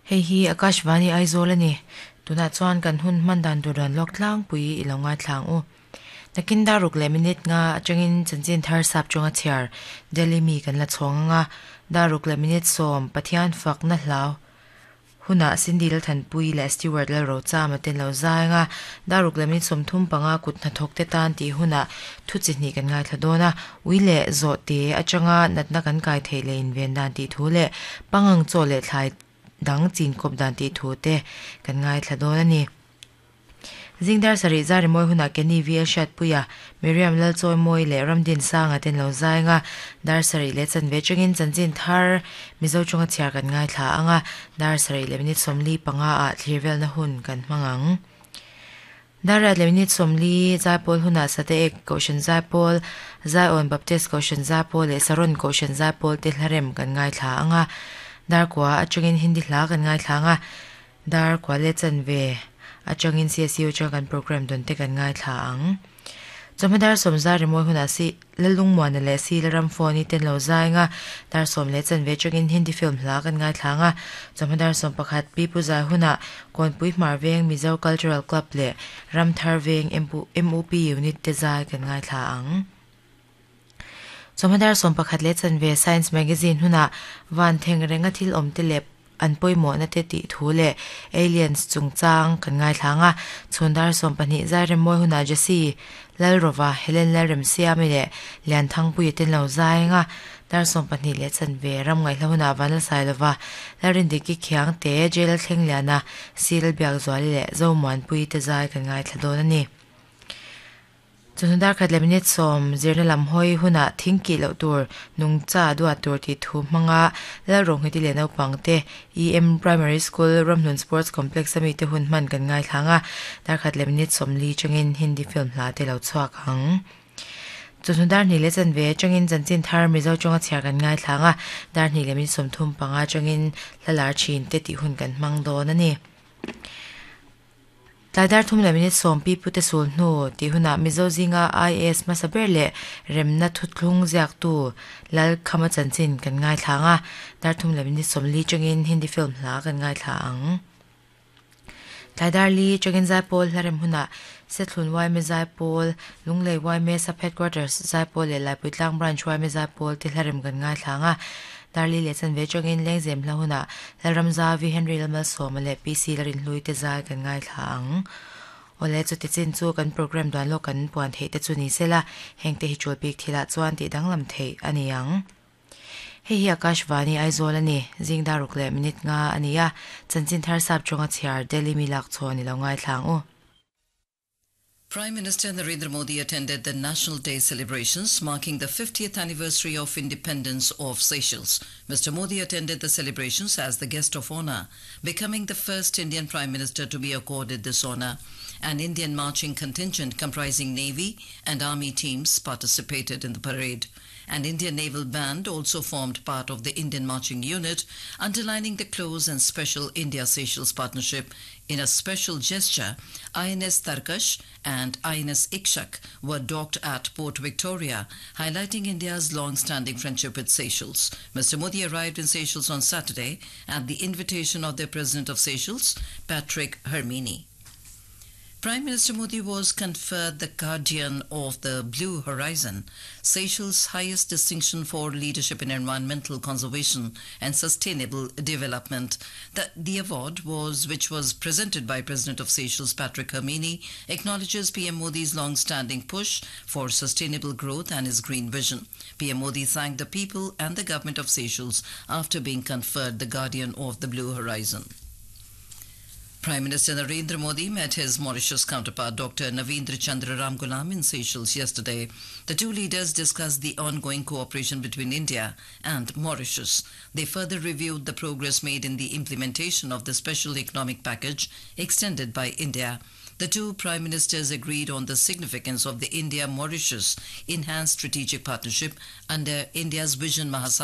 Hei hi Akashvani Aizawl a ni. Tunah chuan kan hun hman dan tur dan lawk tlangpui i lo ngaithla ang u. Nakin dar ruk leh minute nga atangin chanchin thar sap chunga chhiar Delhi mi kan la chhawng ang a, dar ruk leh minute sawm Pathian fakna hlau hunah Cindy Lalthanpui leh Stewart Lalrochama te an lo zai ang a, dar ruk leh minute 35 kut hnathawk te tan tih hunah thu chi hnih kan ngaithla dawn a, ui leh zawhte atanga natna kan kai theih leh inven dan tih thu leh pangang chaw leh thlai dang chin kawp dan tih thu te kan ngaithla dawn a ni. Zing dar sarih zar rimawi hunah Kenny VL Hriatpuia, Miriam Lalchawimawi leh Ramdin Sanga ten lo zai ang a, dar sarih leh chanve atangin chanchin thar Mizo chunga chhiar kan ngaithla ang a, dar sarih leh minute 45 ah thlir velna hun kan hmang ang. Dar riat leh minute 40 Zaipawl hunah Sateek Kohhran Zaipawl, Zion Baptist Kohhran Zaipawl leh Saron Kohhran Zaipawl te hlarem kan ngaithla ang a, dar kua atangin Hindi hla kan ngaithla ang a, Dar kua leh chanve atangin CSU atanga kan program dawn te kan ngaithla ang. Chawhma dar sawm zar rimawi hunah si Lalungmuana leh si Laram phone i ten lo zai anga dar sawm leh chanve atangin Hindi film hla kan ngaithla anga chawhma dar sawm pakhat Pi Pu Zai hunah Kawnpui Hmar Veng Mizo Cultural Club leh Ramthar Veng MUP Unit te zai kan ngaithla ang. Chawhma dar 11 leh chanve Science Magazine hunah van theng renga thil awm te leh an pawimawhna te tih thu leh aliens chungchang kan ngaithla ang a. Chhun dar 12 Zairemmawi hunah Jesse Lalrova, Helen Lalremsiami leh Lianthangpuia ten lo zai ang a. Dar 12 leh chanve ram ngaihhla hunah Vanlalsailova, Lalrindiki Khiangte, Jail Thlengliana, Si Lalbiakzuali leh Zomuanpuii te zai kan ngaithla dawn a ni. Chawhnu dar khat leh minute sawm zirna lam hawi hunah thing kih loh tur, nungcha duat tur tih thu hmanga Lalronghiti leh naupang te EM Primary School Ramhlun Sports Complex a mite hun hman kan ngaithlang a, dar khat leh minute 40 changin Hindi film hla te lo chhuak ang. Chawhnu dar hnih leh chanve atangin chanchin thar Mizo tawnga chhiar kan ngaithlang a, dar hnih leh minute 35 atangin hla lar thin te tih hun kan hmang dawn a ni. Tlai dar thum leh minute sawm pi pute sul hnu tih hunah Mizo zinga IAS hmasa ber leh remna thuthlung ziaktu Lal Khama chanchin kan ngaithla ang a, dar thum leh minute 40 changin Hindi film hla kan ngaithla ang. Tlai dar li changin Zaipawl hlarem hunah Sethlun Yma Zaipawl, Lunglei Yma Sub Headquarters Zaipawl leh Laipuitlang Branch Yma Zaipawl te hlarem kan ngaithla ang a, Dar li leh chanve atangin Lengzem hla hunah Lalramzavi, Henry Lalmalsawma leh PC Larinhlui te zai kan ngaithla ang. Awle, chuti chin chu kan program duan lawk kan puan theih te chu ni sela, hengte hi tul bik thilah chuan tih danglam theih a ni ang. Hei hi Akashvani Aizawl a ni, zing dar ruk leh minute nga a ni a, chanchin thar sap tawnga chhiar Delhi mi lak chhawn i lo ngaithla ang u. Prime Minister Narendra Modi attended the National Day celebrations marking the 50th anniversary of independence of Seychelles. Mr. Modi attended the celebrations as the guest of honor, becoming the first Indian Prime Minister to be accorded this honor. An Indian marching contingent comprising Navy and Army teams participated in the parade. An Indian naval band also formed part of the Indian marching unit, underlining the close and special India-Seychelles partnership. In a special gesture, INS Tarkash and INS Ikshak were docked at Port Victoria, highlighting India's long-standing friendship with Seychelles. Mr. Modi arrived in Seychelles on Saturday at the invitation of the President of Seychelles, Patrick Herminie. Prime Minister Modi was conferred the Guardian of the Blue Horizon, Seychelles' highest distinction for leadership in environmental conservation and sustainable development. The, the award was, which was presented by President of Seychelles Patrick Herminie, acknowledges PM Modi's long-standing push for sustainable growth and his green vision. PM Modi thanked the people and the government of Seychelles after being conferred the Guardian of the Blue Horizon. Prime Minister Narendra Modi met his Mauritius counterpart Dr. Navindra Chandra Ramgoolam in Seychelles yesterday. The two leaders discussed the ongoing cooperation between India and Mauritius. They further reviewed the progress made in the implementation of the special economic package extended by India. The two prime ministers agreed on the significance of the India-Mauritius enhanced strategic partnership under India's Vision Mahasagar.